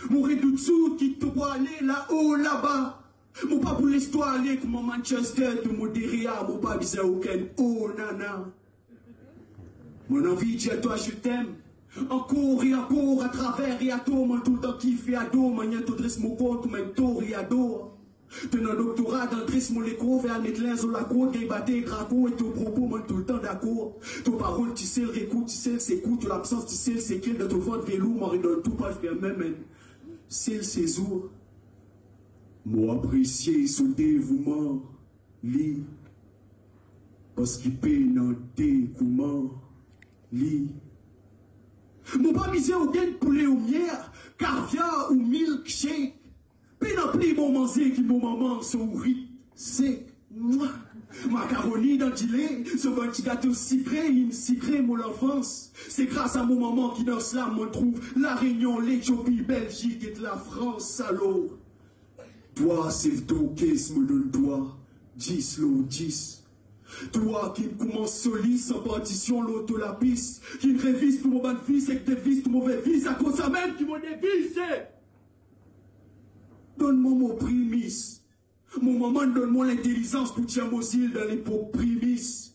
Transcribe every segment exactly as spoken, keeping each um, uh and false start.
Mo redout zour ki to pou ale lao laba. Mo pa pou les twa ale kouma Manchester to mo deria, mo pa bizin okenn oh nana. Mo anvi dir twa je t'aime ankor e ankor, atraver e ator, mo toultan kife ador manier to dres mo kor kouma enn tor e ador. To ena doktora dan dres mo lekor, fer al met linz lor lakour, gagn bate ek rakour, e to propo mo toultan dakor. To parol ti sel rekour, ti sel sekour, to labsans ti sel sekel, dan to vant velour, mo aret dan tou, pa fer mem enn sel sezour. Mo apresie so devouman, li, parski pena de kouma li. Mo pa bizin okenn poule ou mier, kaviar ou milkshake. Pena pli bon manze ki mo mama so ourit sek. Mwa! Makaroni dan dile, so bann ti gato sikre, inn sikre mo lanfans. Se gras a mo mama ki dan slam mo trouv La Renion, Letiopi, Belzik ek Lafrans. Alor, twa sef dorkes, mo donn twa dis lor dis. Twa ki koumans solis an partision lor to lapis, ki revis tou mo bann vis ek devis tou move vis, akoz samem ki mo deviz se: donn mwa mo primis. Mo mama donn mwa lintelizans pou tir mo zil dan lepok primis.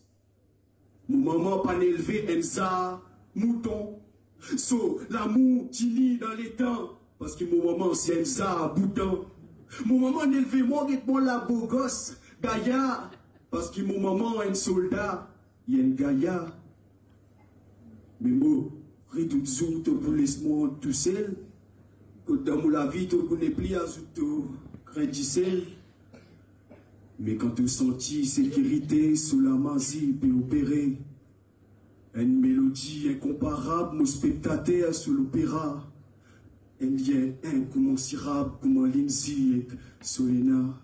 Mo mama pa'nn elve enn zar mouton. So lamour tini dan letan, parski mo mama se enn zar bouton. Mo mama elve mwa, get mwa labogos, gayar, parski mo mama enn solda, li enn gayar. Me mo redout zour to pou les mwa tousel. Kot dan mo lavi to pou nepli azout to grin disel. Me kan to santi sekirite, so lamazi pe opere. Enn melodi inkonparab, mo spektater so lopera. Enn lien inkoumansirab kouma Lindsay ek Solena.